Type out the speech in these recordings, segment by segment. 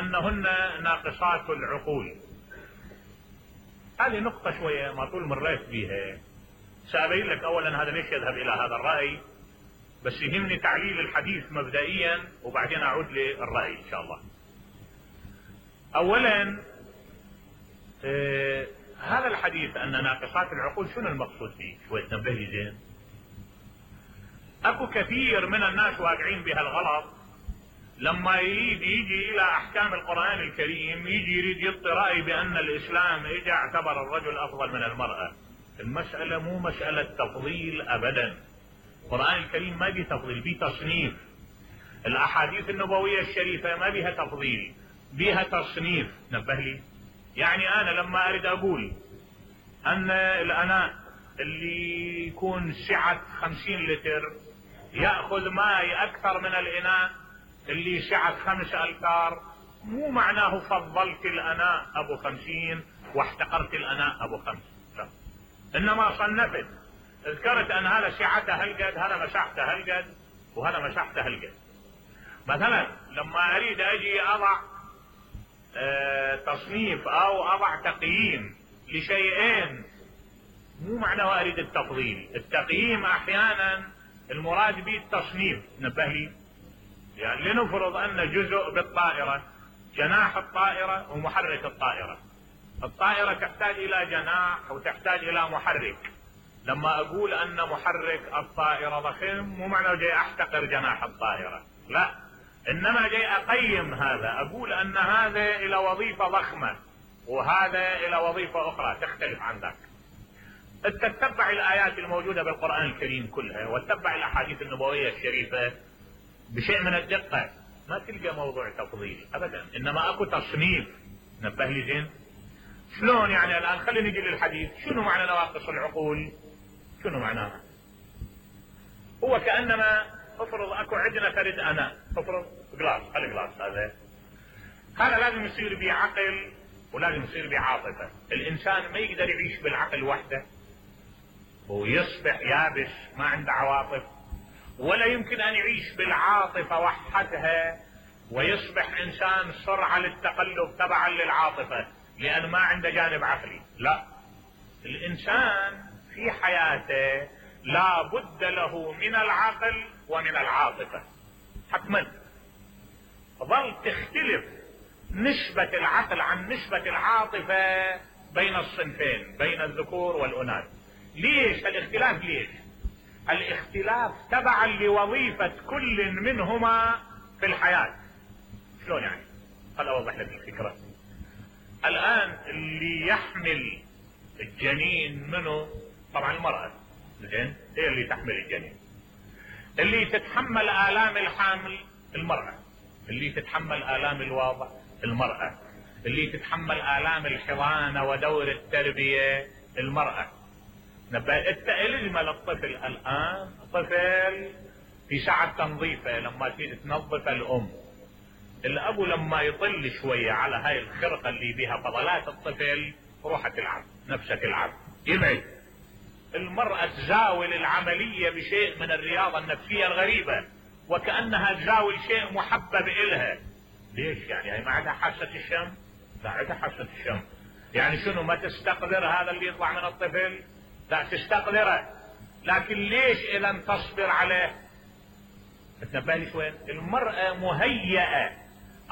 انهن ناقصات العقول. هذه نقطة شوية ما طول مريت بيها. سأبين لك اولا هذا ليش يذهب الى هذا الرأي، بس يهمني تعليل الحديث مبدئيا وبعدين اعود للرأي ان شاء الله. اولا هذا الحديث ان ناقصات العقول شنو المقصود فيه؟ شوية تنبه لي زين. اكو كثير من الناس واقعين بها الغلط، لما يجي الى احكام القرآن الكريم يجي يريد يعطي رأي بان الاسلام اجى اعتبر الرجل افضل من المرأة. المسألة مو مسألة تفضيل ابدا. القرآن الكريم ما بيه تفضيل، بيه تصنيف. الاحاديث النبوية الشريفة ما بيها تفضيل، بيها تصنيف. نبه لي. يعني انا لما اريد اقول ان الاناء اللي يكون سعة 50 لتر يأخذ ماء اكثر من الاناء اللي سعة 5 أمتار، مو معناه فضلت الاناء ابو 50 واحتقرت الاناء ابو 5، لا. انما صنفت، ذكرت ان هذا سعته هالقد، هذا مساحته هالقد، وهذا مساحته هالقد. مثلا لما اريد اجي اضع تصنيف او اضع تقييم لشيئين، مو معناه اريد التفضيل. التقييم احيانا المراد به التصنيف. نبه لي. يعني لنفرض ان جزء بالطائرة، جناح الطائرة ومحرك الطائرة. الطائرة تحتاج الى جناح وتحتاج الى محرك. لما اقول ان محرك الطائرة ضخم مو معناه جاي احتقر جناح الطائرة، لا، انما جاي اقيم هذا، اقول ان هذا الى وظيفة ضخمة وهذا الى وظيفة اخرى تختلف عن ذاك. تتبع الايات الموجودة بالقرآن الكريم كلها وتتبع الاحاديث النبوية الشريفة بشيء من الدقة، ما تلقى موضوع تفضيل ابدا، انما اكو تصنيف. نبه لي زين. شلون يعني؟ الان خلينا نجي للحديث. شنو معنى نواقص العقول؟ شنو معناها؟ هو كأنما افرض اكو عندنا فرد انا، افرض جلاس، خلي جلاس هذا لازم يصير بيه عقل ولازم يصير بيه عاطفة. الانسان ما يقدر يعيش بالعقل وحده ويصبح يابس ما عنده عواطف، ولا يمكن ان يعيش بالعاطفة وحدها ويصبح انسان سرعة للتقلب تبعا للعاطفة لان ما عنده جانب عقلي. لا، الانسان في حياته لا بد له من العقل ومن العاطفة حتما. ظل تختلف نسبة العقل عن نسبة العاطفة بين الصنفين، بين الذكور والاناث. ليش الاختلاف؟ ليش الاختلاف؟ تبعا لوظيفة كل منهما في الحياة. شلون يعني؟ خل اوضح لك الفكرة. الان اللي يحمل الجنين منه طبعا المرأة، زين، هي اللي تحمل الجنين. اللي تتحمل آلام الحمل المرأة، اللي تتحمل آلام الوضع المرأة، اللي تتحمل آلام الحضانة ودور التربية المرأة. التأليم للطفل الآن، طفل في ساعة تنظيفه لما تيجي تنظف الأم، الأبو لما يطل شوية على هاي الخرقة اللي بها فضلات الطفل روح تلعب، نفسها تلعب، يبعد. المرأة تزاول العملية بشيء من الرياضة النفسية الغريبة وكأنها تزاول شيء محبب إلها. ليش يعني؟ هي ما عندها حاسة الشم؟ لا، عندها حاسة الشم. يعني شنو؟ ما تستقدر هذا اللي يطلع من الطفل؟ لا، تستقدره. لكن ليش اذا تصبر عليه؟ تنبه لي شوي. المرأة مهيئة،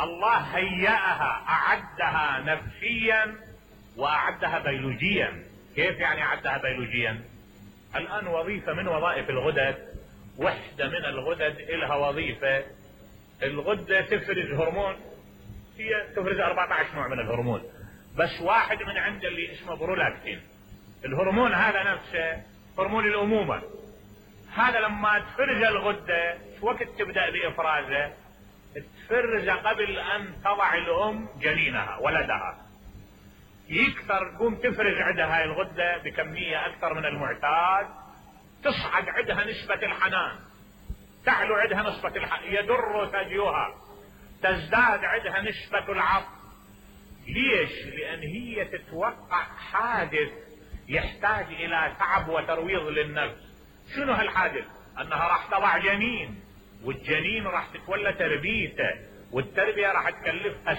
الله هيئها، اعدها نفسيا واعدها بيولوجيا. كيف يعني اعدها بيولوجيا؟ الان وظيفة من وظائف الغدد، وحدة من الغدد لها وظيفة. الغدة تفرز هرمون، هي تفرز 14 نوع من الهرمون، بس واحد من عند اللي اسمه برولاكتين. الهرمون هذا نفسه هرمون الامومة. هذا لما تفرز الغدة شو وقت تبدأ بافرازه؟ تفرز قبل ان تضع الام جنينها ولدها. يكثر تقوم تفرز عندها هاي الغدة بكمية اكثر من المعتاد، تصعد عندها نسبة الحنان، تعلو عندها نسبة الحنان، يدر ثديها، تزداد عندها نسبة العطف. ليش؟ لان هي تتوقع حادث يحتاج الى تعب وترويض للنفس. شنو هالحادث؟ انها راح تضع جنين، والجنين راح تتولى تربيته، والتربية راح تكلفها